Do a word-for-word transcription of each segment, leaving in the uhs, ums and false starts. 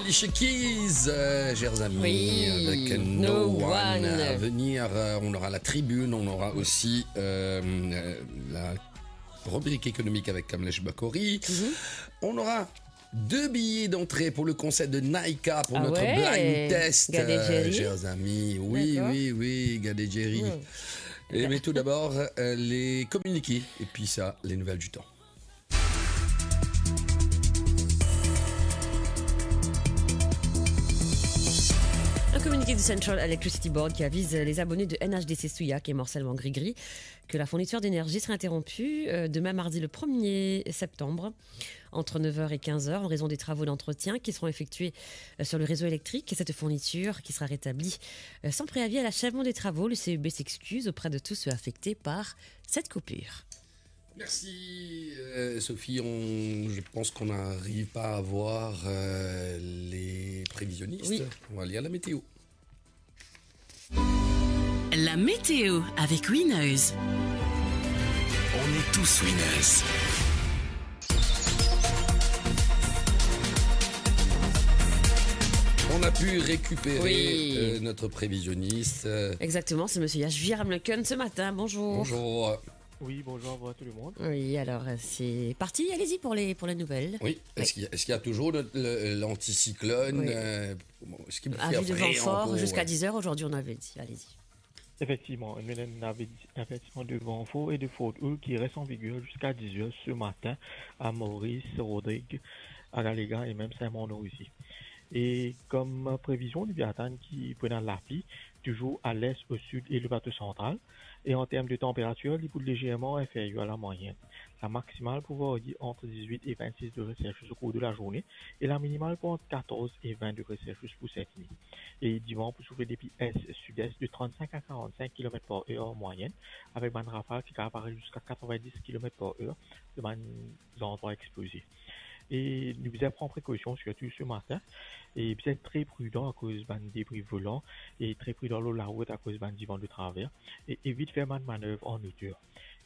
Alicia Keys, euh, chers amis, oui, avec No, No One. One. À venir, euh, on aura la tribune, on aura aussi, euh, euh, la rubrique économique avec Kamlesh Bakori. Mhm. On aura deux billets d'entrée pour le concert de Naïka pour, ah, notre, ouais, blind test, Gade, euh, Jerry, chers amis. Oui, d'accord, oui, oui, Gade Jerry. Hmm. Et, mais tout d'abord, euh, les communiqués et puis ça, les nouvelles du temps. Un communiqué du Central Electricity Board qui avise les abonnés de N H D C Souillac et Morcellement Grigri que la fourniture d'énergie sera interrompue, euh, demain mardi le premier septembre entre neuf heures et quinze heures en raison des travaux d'entretien qui seront effectués, euh, sur le réseau électrique. Cette fourniture qui sera rétablie, euh, sans préavis à l'achèvement des travaux. Le C E B s'excuse auprès de tous ceux affectés par cette coupure. Merci, euh, Sophie. On, je pense qu'on n'arrive pas à voir, euh, les prévisionnistes. Oui. On va lire la météo. La météo avec Winners. On est tous winners. On a pu récupérer, oui, euh, notre prévisionniste, euh. Exactement, c'est monsieur Yash Viramleken ce matin. Bonjour. Bonjour. Oui, bonjour à vous, à tout le monde. Oui, alors, euh, c'est parti. Allez-y pour les, pour les nouvelles. Oui. Oui. Est-ce qu'il y a, est-ce qu'il y a toujours le, le, l'anticyclone, oui, euh, bon, est-ce qu'il fait frais encore ? Avertissement de vent fort jusqu'à dix heures aujourd'hui, on avait dit. Allez-y. Effectivement, nou ena avertissement de vent fort et de forte houle qui reste en vigueur jusqu'à dix heures ce matin à Maurice, Rodrigues, à Galléga et même Saint-Mandon aussi. E kom previzion, nou pe atann ki pou ena lapli, toujours à l'est, au sud et le plateau central. Et en termes de température, li pou légèrement inférieur à la moyenne. La maximale pou varier entre dix-huit et vingt-six degrés Celsius au cours de la journée et la minimale pou entre quatorze et vingt degrés Celsius pou cette nuit. E divan pou soufle depi est, sud-est de trente-cinq à quarante-cinq kilomètres par heure en moyenne, avec bann rafal ki kapav ariv ziska quatre-vingt-dix kilomètres par heure dan bann zandrwa expoze. E nou bizin pran prekausion, sirtou ce matin, e bizin tre pridan akoz bann debri volan, e tre pridan lor larout akoz bann divan de traver, e evit fer bann manev an oter.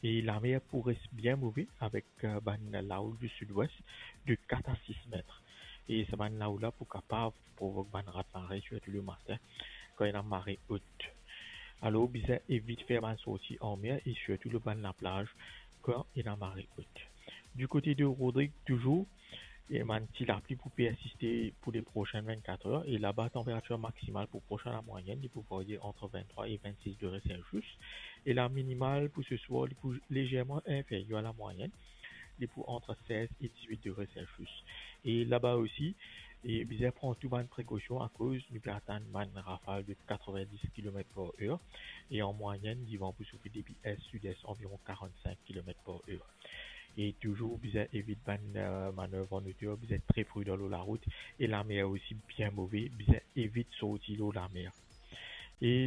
E lamer pou res bien move avek, euh, bann lahoul du sud-ouest de quatre à six mètres. E sa bann lahoul la pou kapav provok bann raz-mare, sirtou le matin, kan ena mare ot. Alor, bizin evit fer bann sorti anmer e sirtou lor bann laplaz kan ena mare ot. Du kote de Rodrigues, toujours, e bann ti lapli pou persiste pour les prochaines vingt-quatre heures. E laba, température maximale pou pros a la moyenne, li pou varier entre vingt-trois et vingt-six degrés Celsius. E la minimale pou ce soir, li pou légèrement inférieur à la moyenne. Li pou entre seize et dix-huit degrés Celsius. E laba osi, e bizin pran tou bann prekausion akoz nou pe atann bann rafal de quatre-vingt-dix kilomètres par heure. E an moyenne, divan pou soufle depi est, sud-est, environ quarante-cinq kilomètres par heure. E toujours bizin evit bann, euh, manev an oter, bizin tre pridan lor larout. E lamer osi bien move, bizin evit sorti lor lamer. E